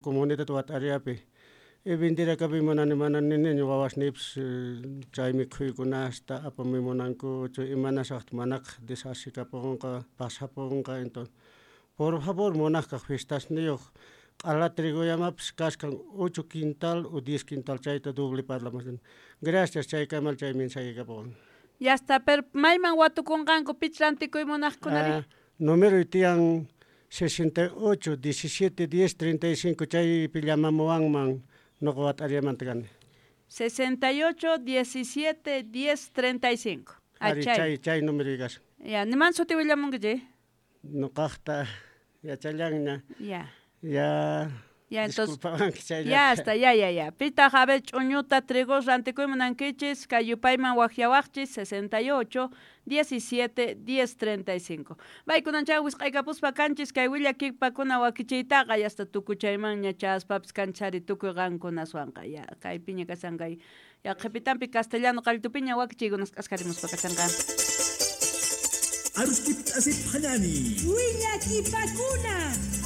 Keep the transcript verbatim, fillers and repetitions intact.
Comunidad Wat'ariapi. Y vendirakapuy munani mana niniña wawasniypis chay mikhuykunasta apamuy munankuchu imanasaqta manaqa desasikapunqa pasapunqa. Entonces por favor munaqkaq fiestasniyuq q'ala trigoyamapis kashkan ocho quintal o diez quintal chayta doble parlamus. Gracias, chaykamal chay mensaje kapuwan. Ya está, pero mayman watukunqanku pich rantikuy munaqkunari? Ah, número tiyan sesenta y ocho, diecisiete, diez, treinta y cinco, chaypi llamamuwanman noqa Wat'ariamanta kani. sesenta y ocho, diecisiete, diez, treinta y cinco. Ah, Ari, chay. chay, chay número kashan. Ya, niman suti willamunki chay? Noqaqta yachallanña. Ya. Ya. Ya, entonces, Disculpawanki chayllata. ya está, ya, ya, ya. Pitaq, a ver, ch'uñuta, trigos rantikuy munankichis, kay yupayman waqyawaqchis, sesenta y ocho, diecisiete, diez, treinta y cinco. Baykunan chay wisq'aykapuspa kanchis, kay willakipakuna wakichiytaqa, ya hasta tukuchaymanña chaspapis kanchari tukuy qankunaswanqa. Ya, kay piña kashan kay, ya qhipitampi castellano qalltupiña wakichiykunas k'askarimuspa kashanqa. Aruskip asip hanani. Willakipakuna.